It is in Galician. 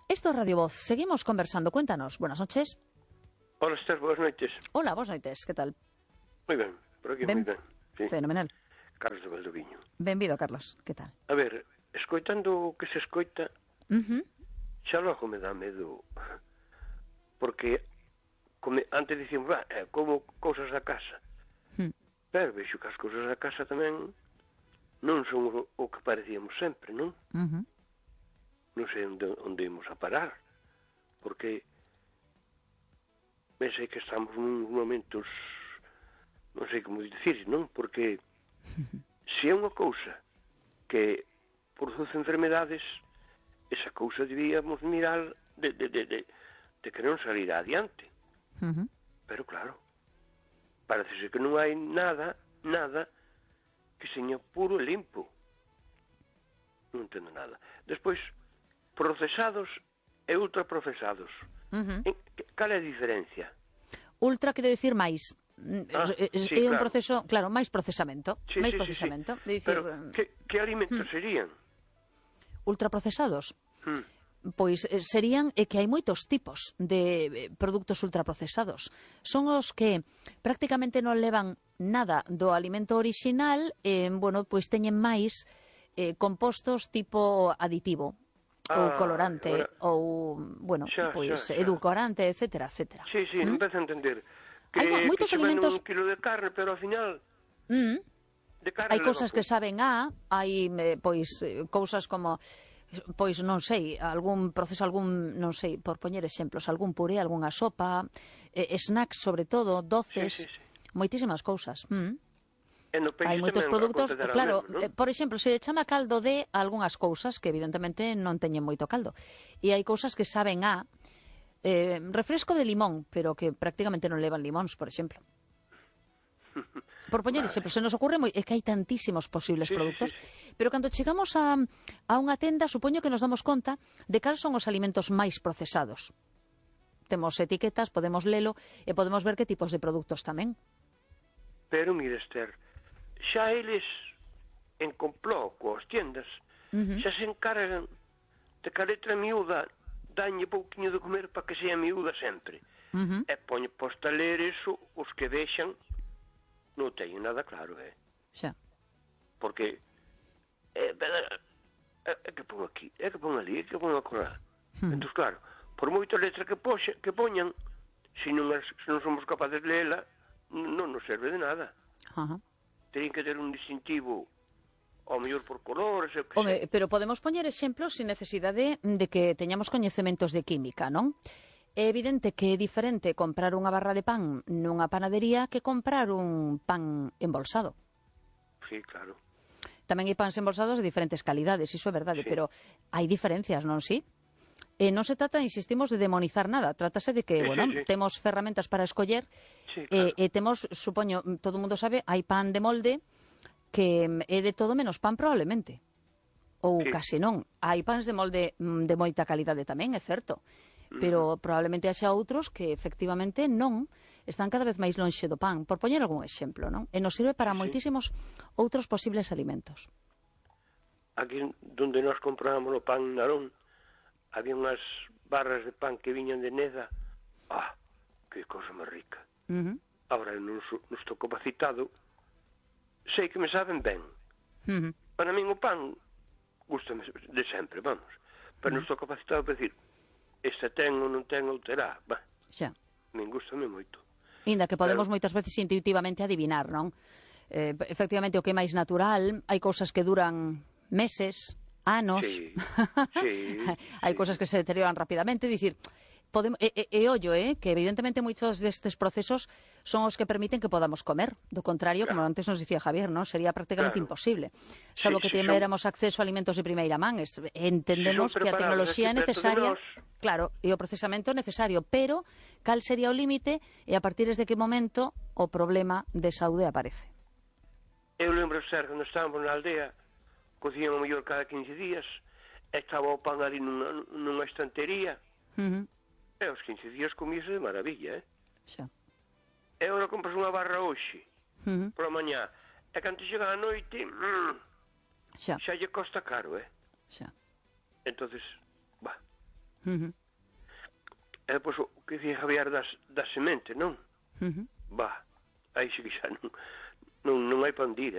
Esto es Radio Voz. Seguimos conversando. Cuéntanos. Buenas noches. Hola, Esther, buenas noites. Hola, boas noites. Que tal? Moi ben, por aquí moi ben. Sí. Fenomenal. Carlos de Valdoviño. Benvido, Carlos. Que tal? A ver, escoitando o que se escoita, xa logo me dá medo, porque antes dicíamos, como cousas da casa. Pero vexo que as cousas da casa tamén non son o que parecíamos sempre, non? Non sei onde imos a parar, porque pensei que estamos nun momentos, non sei como dicir, non? Porque se é unha cousa que produce enfermedades, esa cousa debíamos mirar de que non salir adiante. Pero claro, parece que non hai nada que seña puro e limpo. Non entendo nada. Despois, procesados e ultraprocesados. Cal é a diferencia? Ultra quere dicir máis. Sí, é un claro. proceso, claro, máis procesamento. Sí. De dicir, Pero que alimentos serían? ultraprocesados. Pois serían que hai moitos tipos de produtos ultraprocesados. Son os que prácticamente non levan nada do alimento orixinal, bueno, pois teñen máis compostos tipo aditivo ou colorante ou, bueno, pois edulcorante, etcétera, etcétera. Sí, empezo a entender. Hai moitos alimentos... un kilo de carne, pero ao final... de carne hai cousas que saben hai pois cousas como... Pois non sei, algún proceso, non sei, por poñer exemplos, algún puré, algunha sopa, snacks sobre todo, doces, moitísimas cousas. Hai moitos produtos, claro, por exemplo, se chama caldo de algunhas cousas que evidentemente non teñen moito caldo. E hai cousas que saben refresco de limón, pero que prácticamente non levan limóns, por exemplo. Por poñer exemplo, se nos ocurre é que hai tantísimos posibles produtos, pero cando chegamos a unha tenda, supoño que nos damos conta de cales son os alimentos máis procesados. Temos etiquetas, podemos lelo e podemos ver que tipos de produtos tamén. Pero, mire, Esther, xa eles en complot coas tiendas xa se encargan de que a letra miúda dañe pouquiño de comer para que sea miúda sempre. E poñe posta a ler eso os que deixan non teñen nada claro, Xa. Porque é que pon aquí, é que pon ali, é que pon acolá. Entón, claro, por moita letra que poñan, se non somos capaces de leela, non nos serve de nada. Teñen que ter un distintivo, ao mellor por colores, pero podemos poñer exemplos sin necesidade de que teñamos coñecementos de química, non? É evidente que é diferente comprar unha barra de pan nunha panadería que comprar un pan embolsado. Sí, claro. Tamén hai pans embolsados de diferentes calidades, iso é verdade, pero hai diferencias, non si? Non se trata, insistimos, de demonizar nada. Trátase de que, temos ferramentas para escoller e temos, supoño, todo o mundo sabe, hai pan de molde que é de todo menos pan probablemente. Ou case non. Hai pans de molde de moita calidade tamén, é certo. Pero probablemente haxa outros que efectivamente non están cada vez máis lonxe do pan, por poñer algún exemplo, non? E nos sirve para moitísimos outros posibles alimentos. Aquí donde nós comprábamos o pan Narón, había unhas barras de pan que viñan de Neda. Que cosa máis rica. Ahora, non estou capacitado, sei que me saben ben. Para min o pan gustame de sempre, vamos. Pero non estou capacitado para decir esta ten ou non ten ou terá. Xa. Me gustame moito. Inda que podemos moitas veces intuitivamente adivinar, non? Efectivamente, o que é máis natural, hai cousas que duran meses, anos. Hai cousas que se deterioran rapidamente, dicir, ollo, que evidentemente moitos destes procesos son os que permiten que podamos comer. Do contrario, como antes nos dicía Javier, non sería prácticamente imposible. Salvo que tiveramos acceso a alimentos de primeira man, entendemos que a tecnoloxía é necesaria, claro, e o procesamento é necesario, pero cal sería o límite e a partir de que momento o problema de saúde aparece? Eu lembro ser cando estábamos na aldea, cocían o mellor cada 15 días, estaba o pan ali nunha estantería. E aos 15 días comíase de maravilla, Xa. E agora compras unha barra hoxe, por a mañá, e cando chega a noite, xa lle costa caro, Xa. entonces, va. Uh-huh. E depois o que dicía Javier das sementes, non? Uh-huh. Va, aí sí que xa non hai pa onde ir,